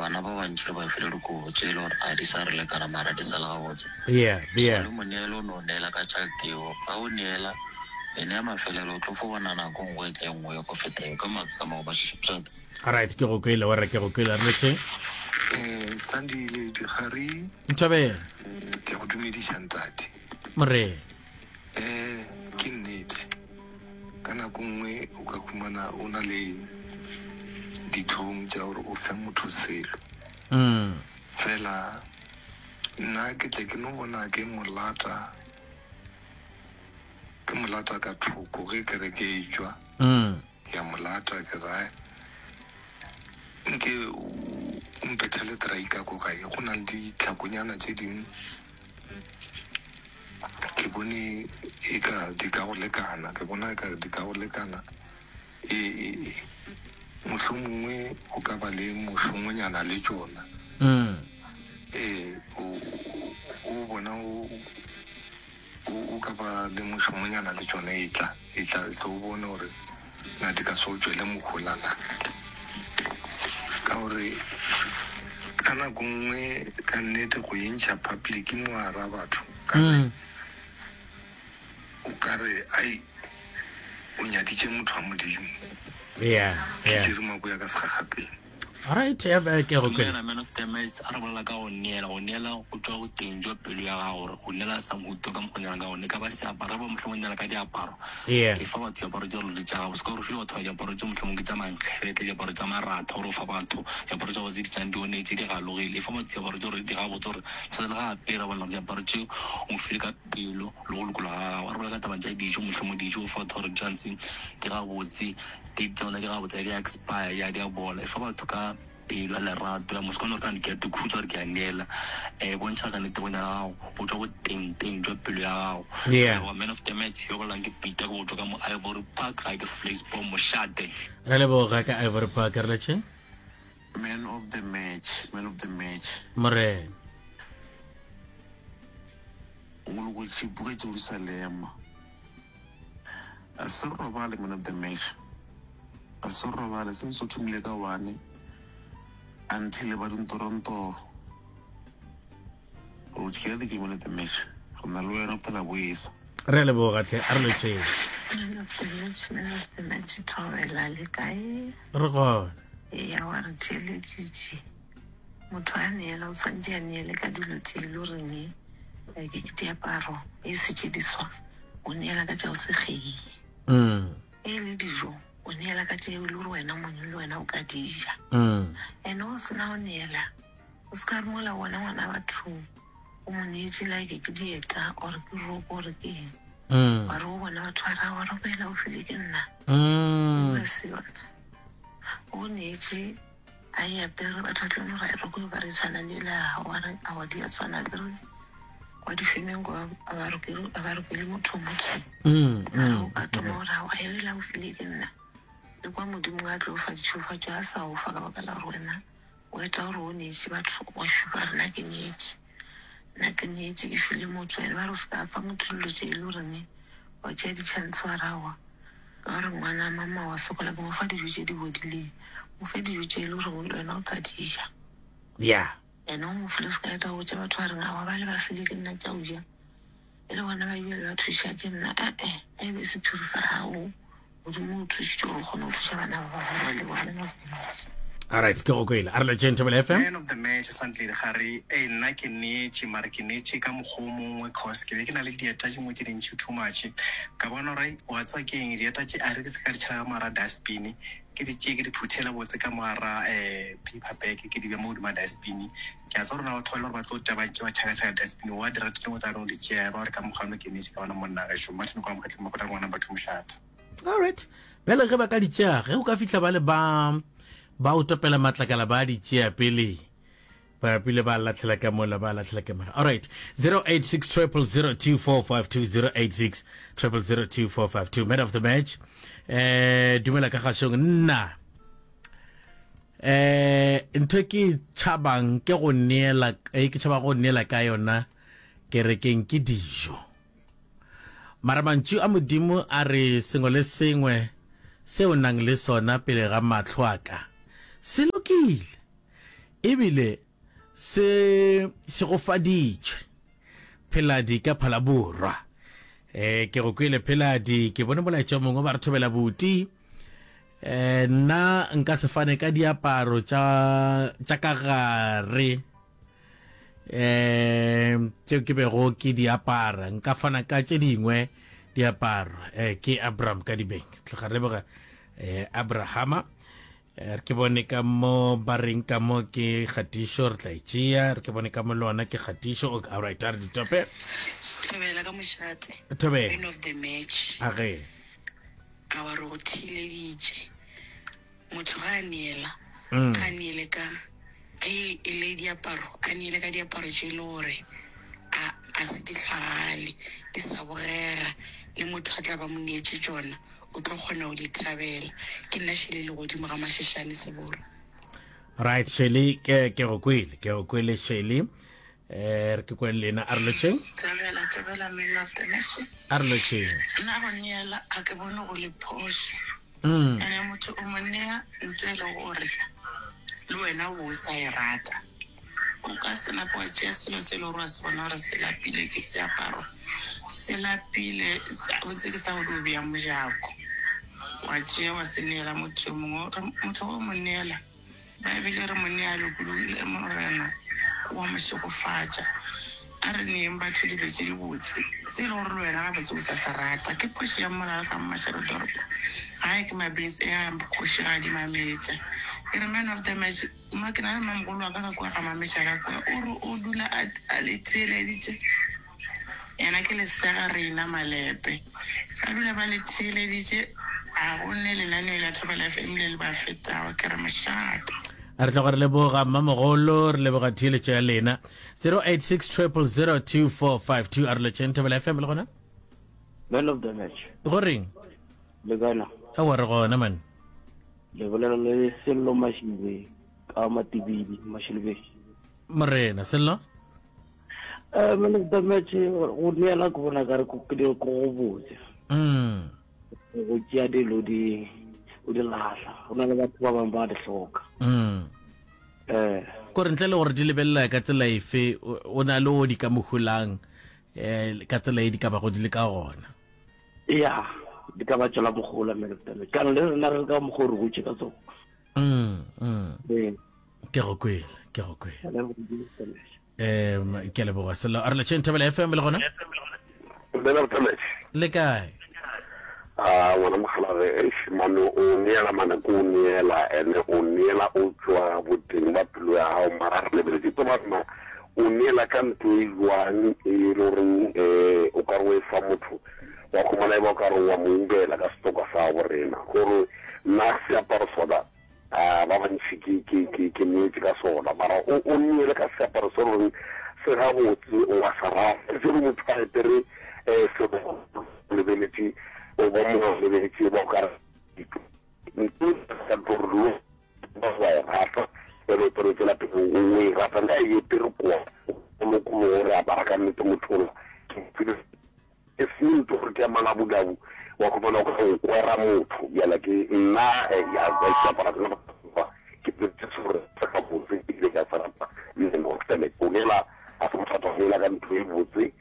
Bana ba bantši re ba file dikobo tše e le gore a di sa re lekana mara di sa le gabotse. Yeah, So yeah. le moneelo o no neela ka tšhelete yeo. Ga o neela, ene ya mafelelo o tlo fo bona nako nngwe e tla e nngwe ya go feta yeo. Ka maaka ka mo go ba Alright, ke go kwele, warra ke go kwele. Re letše. Eh, Sandile Dikgari. Nthobela. Ke go dumediša ntate. Morena. Eh, ke nnete. Ka nako nngwe o ka humana o na le ditlhong tša gore o fe motho selo. Mm. Fela nna ke tle ke no bona ke mo lata, ke mo lata ka thoko ge kereke e tšwa. Mm. Ke a mo lata, ke ra nke o mpethele trai ka ko gae. Go na le ditlhakonyana tše dingwe ke bone e ka di ka go lekana, ke bona e ka di ka go lekana. E, e, e, mohlomongwe o ka ba le mošomonyana le tšona. Mm. Ee, o, o bona o, O, o ka ba le mošomonyana le tšona, etla, etla, etla o bone gore na di ka se o tšwele mohola na. Ka gore ka nako nngwe ka nnete go e ntšha public mo gara batho, ka re Mm. o ka re ai o nyaditše motho wa Modimo. Yeah, Ke yeah. tšere maboya ka segagapeng. Alright, ya ba ke go kwele. Dumela man of the match, a re bolela ka go neela, go neela go tšwa boteng jwa pelo ya gago gore o neela sa mohuta ka mokgwa o neelang ka gone, e ka ba seaparo, ge ba mohlomong o neela ka diaparo, Yeah. e fa batho diaparo tše ruri tša gago, se ka gore o file batho ba diaparo tše mohlomong ke tša mankgebete, diaparo tša maratha, gore o fa batho diaparo tša go tse di tšang di onetse, di galogile, e fa batho diaparo tše gore di gabotse gore le ge a apere a bona gore diaparo tše o mo file ka pelo le go lokologa ga gago. A re bolela ka taba tša dijo, mohlomong dijo o fa batho gore di tshwanetse di gabotse, Date tša bona di gabotse ga di a expire ya di a bola. E fa batho ka pelo ya lerato ya moswane gore ka ke a ikhutša gore ke a neela. E bontšha ka nnete go nyala gago go tšwa boteng teng jwa pelo ya gago. Yeah. Ke leboga man of the match yo bolelang ke Peter ke go tšwa ka mo Ivory Park ga ke Vleisboom mošate. Re leboga ka Ivory Park re letše. Man of the match, man of the match. Morena. O lokotše buka Jerusalema. A se robale man of the match. A se robale since o thomile ka one until ba dintorontoro. Re o tšhela di game man of the match. Re na le wena go fihlela boesa. Re a leboga hle, a re lotšheng. Man of the match, man of the match, Thobela le kae? Re gona. Eya wa re theeleditše. Motho a neela o tshwanetše a neele ka dilo tše e le goreng like ke diaparo e se tše diswa o neela ka tša go se kgeye. E le dijo o neela ka tše e le gore wena mong le wena o ka di ja. Ene o sena go neela o se ka re mola bona ngwana bathong o mo neetše like ke dieta or ke roko or ke eng wa re o bona batho ba ra wa roko ela o file ke nna. O se yona. O neetše A e apere, batho ba tlo no ra e roko e ka re e tshwana le ela ya gago, wa re aowa di a tshwana akere kwa difemeng kwa a ba rokele a ba rokele motho o motee. Mara o ka thoma gore aowa ela o file ke nna, le kwa Modimo a tlo fa ditšhegofatšo a sa o fa ka baka la gore wena o eta gore o neetše batho wa šupa gore nna ke neetše, nna ke neetše ke file motho ene ba re o se ka fa motho dilo tše e le goreng wa tšea di-chance wa re aowa Ka gore ngwana mama wa sokola ke mo fa dijo tše di bodileng. Mo fe dijo tše e le gorego le wena o tla di ja. Yeah. Ene o mo file o se ka eta go botša batho ba reng aowa bale ba file ke nna tša go ja. E le bona ba ebile ba thuša ke nna. E-e, a e be sephiri sa gago. Modimo o thušitše gore o kgone go thuša bana ba bangwe ba leboga le mo. Alright, ke go kwele. A re lotšheng Thobela FM. Man of the match Santledi Gare, ei nna ke neetše mara ke neetše ka mokgwa o mongwe cause ke be ke na le dieta tše dingwe tše dintši too much ka bona gore wa tseba ke eng dieta tše a re ke se ka di tšhela ka mo gara dustbin ke di tšee ke di phuthele botse ka mo gara um paper bag ke di bee mo godimo ga dustbin ke a tseba gore na batho ba le gore ba tlo tša ba ntše ba tšhakatšhaka dustbin wa di ratile o tla no di tšea ya ba gore ka mokgwa ono ke neetše ka ona monna gešo Martin kwa Mokgatleng Makgotla ngwana batho mošate. Alright. Bjale ge ba ka di tšea, ge o ka fihla ba le ba ba o topela matlakala ba di tšea pele ba pele ba lahlela ka mola ba lahlela ka mola. Alright. 086 0002452 086 0002452 man of the match. Eh dumela ka gašong nna. Eh ntho ke tšhabang ke go neela eh, ke tšhaba go neela ka yona kerekeng ke dijo. Mara mantšu a Modimo a re sengwe le sengwe se o nang le sona pele ga mahlo a ka se lokile. Ebile se šegofaditšwe. Pheladi ka Phalaborwa. E, ke go kwele Pheladi, ke bone molaetša o mongwe ba re thobela buti. E, nna nka se fane ka diaparo tša tša ka gare eh tšeo ke bego ke di apara nka fana ka tše dingwe diaparo eh ke Abraham ka dibeng tloga re leboga eh Abrahama Eh, re ke bone ka mo ba reng ka mo ke kgatišo re tla e tšea re ke bone ka mo le ona ke kgatišo okay, all right a re ditope Thobela ka mošate. Thobela. Man of the match. A ge. A wa re go theeleditše. Motho ga a neela, a neele ka ge e le diaparo, a neele ka diaparo tše e le gore a a se di hlagale, di sa bogega, le motho a tla ba mo neetše tšona o tlo kgona go di thabela. Ke nna Shirley Legodimo ga Masheshane Seboro. Right Shirley, ke ke go kwele, ke go kwele Shirley. Eh re ke kwele lena a re lotšheng. Thabela, thabela man of the nation. A re lotšheng. Nna go neela a ke bone go le phošo. Ene motho o mo nea ntho e le gore le wena o bo o sa e rata. O ka se nape wa tšea selo se e le gore wa se bona gore se lapile ke seaparo, se lapile botse ke sa go dio bea mojako, wa tšea wa se neela motho yo mongwe. Motho ge o mo neela, Baebele e re mo nea lokologile, Morena o a mo šegofatša. A re neeng batho dilo tše dibotse, se e le gore le wena gabotse o sa se rata. Ke phošo ya mmolao ka Mmašarodoropo. Gae ke mabese a kgošigadi Mametša. E re man of the match, mma ke na le mmamogolo wa ka ka kua ga Mametša ka kua, o re o dula a a le theeleditše. Yena ke lesega Reina Malepe. Ba dula ba le theeleditše, ga go ne lenaneo la Thobela FM le le ba fetago. Ke re mošate. A re tloga re leboga mmamogolo, re leboga theeletšo ya lena. 086 000 2452 a re letšeng Thobela FM le gona? Man of the match. Go reng? Le kae na? Aowa re gona man. Le bolela le Sello Mashibe ka Matibidi, Mashilube. Morena, Sello? Eh, man of the match go neela ke bona kare ko go botse. Mm. Go tšea dilo di o di lahla. Go na le batho ba bangwe ba di hloka. Mm. Eh. Kore ntle le gore di lebelela ka tsela efe o na le o di ka mohulang eh ka tsela e di ka bago di le ka gona. Ya, di ka ba tšwela mogola man of the match. Kana le rena re ka mokgwa o re gotše ka tsona. Mm, mm. Ee. Ke go kwele, ke go kwele. Um ke a leboga Sello. A re letšheng Thobela FM le gona? Dumela Botametše. Le kae? A ngwana mokgalabje eish mane o neela mane ko o neela ene o neela o tšwa boteng ba pelo ya gago mara re lebeletše tseba rena o neela ka ntho e jwang e le goreng um o ka re o e fa motho wa khumana e ba o ka re wa mo ubela ka setoka sa gabo rena gore nna seaparo sona A ba bantši ke, ke, ke, ke neetše ka sona, mara o, o neele ka seaparo se goreng se gabotse, o a se rata. Se re motho a apere um selo o lebeletše, o ba mo lebeletše, ba o ka re ntho ka ntho gore lo ba wa e rata, ene o tlo tswela pele o e rata, le a e apere kwa, o lokologe gore apara ka nnete motho ola. Ke E seng ntho gore ke ya malabulabu wa khumana o ka o kwera motho bjala ke nna ya seapara sena ba ke se gore se ga botse ebile ke a se rata man of the match o neela a se bothata go neela ka ntho e botse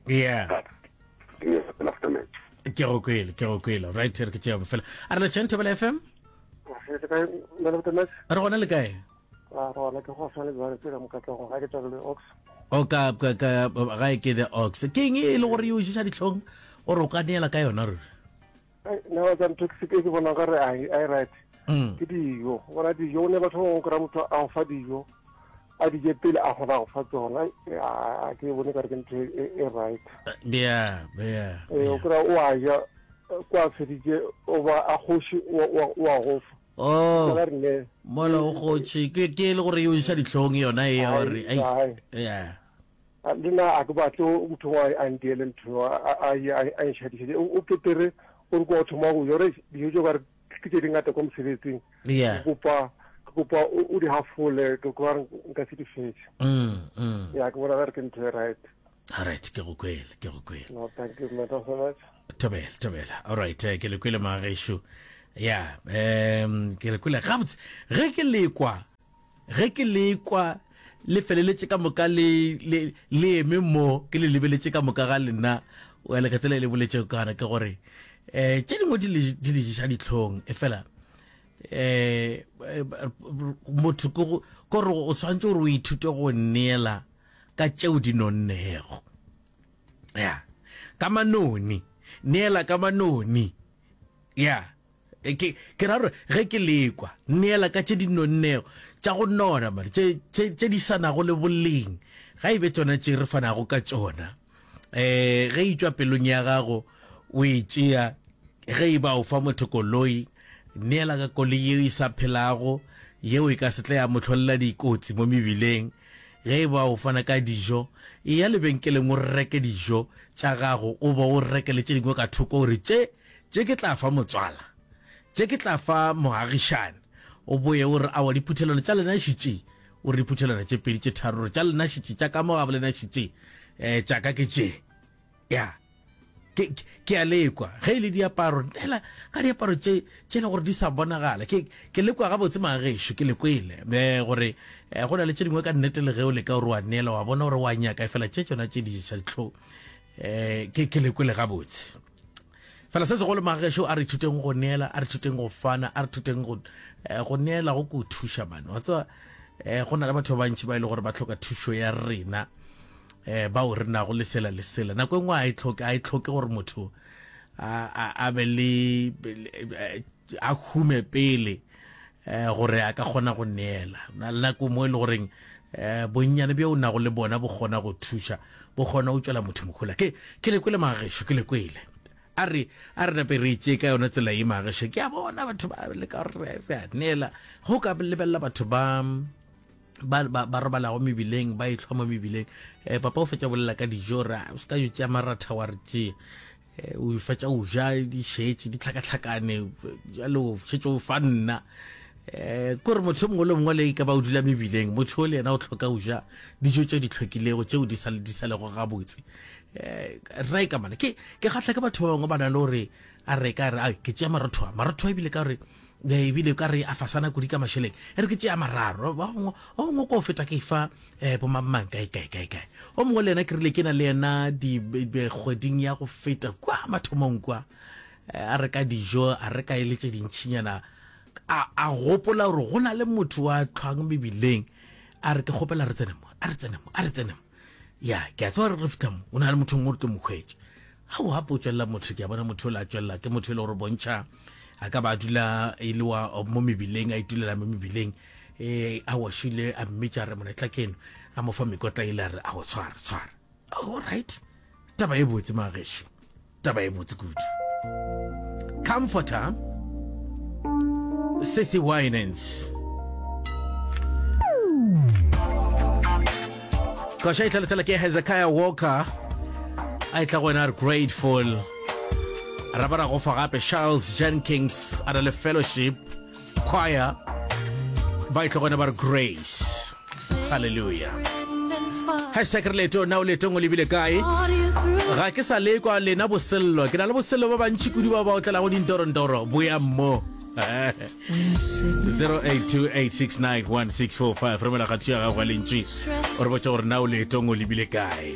yeah man of the match ke go kwele ke go kwele right re ke tšea bofela a re letšeng thobela fm re gona le kae A re gona ke go swana le jwale tsela mokatlego ga ke tswa le ox. O ka ka ka ga e ke the ox. Ke eng e le gore e o ješa dihlong gore o ka neela ka yona ruri? Nna wa tsa ntho ke ke bona ka re ai ai right. Mm. Ke dijo. Bona dijo ne batho ba bangwe kry motho a go fa dijo a di je pele a kgona go fa tsona a ke bone ka re ke ntho e, e right. Yeah, yeah. Eh o kry o a ja kwa feditše o ba a kgoši o a go fa. Oh, Ba re ne. mola o kgotše ke ke e le gore e o ješa dihlong yona e ya gore Ai, ai ai. yeah A, Le nna a ke batle motho wa a ntiele ntho a a a a nšadišetše. O o petere o re kwa o thoma go ja gore dijo tšeo ka re ke tše dingata kwa mosebetsing. yeah Ke kopa ke kopa o o di hafole ke kwa re nka se di fetše. mm mm Ya ke bona ka re ke ntho e right. all right ke go kwele ke go kwele No, thank you man so much. Thobela, thobela. All right, eh, ke le kwele magešo. Ya, um ke le kwele gabotse. Ge ke lekwa. Ge ke le kwa le feleletše ka moka le, le, le eme mo, ke le lebeletše ka moka ga lena, wela ka tsela e le boletšego ka gona, ke gore um tše dingwe di le, di le ješa dihlong, efela um motho ke go, ke gore o swanetše gore o ithute go neela ka tšeo di nonnego. Ya, ka manoni, neela ka manoni. Ya, ke, ke ra gore ge ke lekwa, neela ka tše di nonnego, tša go nona, man, tše, tše, tše di sa nago le boleng, ga e be tšona tše re fanago ka tšona. Eh, ge e tšwa pelong ya gago, o e tšea, ge e ba o fa motho koloi, neela ka koloi yeo e sa phelago, yeo e ka se tle ya mo hlolela dikotsi mo mebileng. Ge e ba o fana ka dijo, eya lebenkeleng o reke dijo tša gago o be o reke le tše dingwe ka thoko o re tše Tše ke tla fa motswala, tše ke tla fa moagišane. O boye o re, Aowa, diphuthelwana tša lena šitše. O re diphuthelwana tše pedi, tše tharo, o re, tša lena šitše, tša ka mo gabo lena šitše, um tša ka ke tše. Ya, ke, ke, ke a lekwa. Ge e le diaparo, neela ka diaparo tše, tše le gore di sa bonagala. Ke, ke lekwa gabotse magagešo, ke le kwele, um gore um go na le tše dingwe ka nnete le ge o leka gore wa neela, wa bona gore wa nyaka, efela tše tšona tše di ješa dihlong. Um ke, ke le kwele gabotse. Fela se segolo magagešo, a re ithuteng go neela, a re ithuteng go fana, a re ithuteng go, eh, go neela go ko thuša mane. Wa tseba, eh, go na le batho ba bantši ba e le gore ba hloka thušo ya rena, eh, bao re nago le sela le sela. Nako e nngwe a e hloke, a e hloke gore motho a, a, a be le, eh, a hume pele, eh, gore a ka kgona go neela. Na le nako mo e le goreng eh, bonnyane bjo o nago le bona bo kgona go thuša, bo kgona go tšwela motho mohola. Ke, ke le kwele magagešo, ke le kwele. A re, a re nape re itšee ka yona tsela ye magagešo. Ke a bona batho ba leka gore re a neela. Ge o ka lebelela batho ba, ba, ba, ba robalago mebileng, ba ehlwa mo mebileng, eh, papa o fetša bolela ka dijo, re, o se ka yo tšea maratha wa re tšea. Eh, o fetša o ja di šetše di tlhakatlhakane jalo o šetše o fa nna um kore motho o mongwe le mongwe le e ka ba o dula mebileng motho o le yena o tlhoka o ja dijo tse di tlhokilego tseo di sa di sa lego gabotse um ra e ka mana ke ke kgatlha ke batho ba bangwe ba na le gore a re ka re a ke tšea marotho a marotho a ebile ka gore ebile ka re a fasana kudu ka mašeleng e re ke tšea mararo ba bangwe o mongwe ko feta ke fa eh bo mang kae kae kae kae o mongwe le yena ke rile ke na le yena di kgweding ya go feta kwa mathomong kwa eh, a reka dijo a reka e le tše dintšhinyana a a gopola gore go na le motho wa tlhwang mebileng a re ke kgopela re tsene mo a re tsene mo a re tsene mo ya ke a tseba gore re fitlha mo o na le motho mongwe re tlo mo hwetša a o gape o tswelela motho ke a bona motho o le a tswelela ke motho e le gore bontšha a ka ba a dula e le wa mo mebileng a itulela mo mebileng e a washile a mmitša a re mona tla keno a mo fa mekotla ile a re a go tshwara tshwara all right taba e botse magešo taba e botse kudu comforter Sissy Winans Koša e tlhalosela ke Hezekiah Walker a e tla go wena re grateful ra ba ra go fa gape Charles Jenkins a na le fellowship choir ba e tlo gona ba re grace halleluja hashtag re leeto na o leetong o lebile kae ga ke sa lekwa lena bosello ke na le bosello ba bantši kudu ba ba otlelago dintorondoro boya mo 0828691645 romela kgatho ya gago ya lentši o re botša gore na o leetong o lebile kae.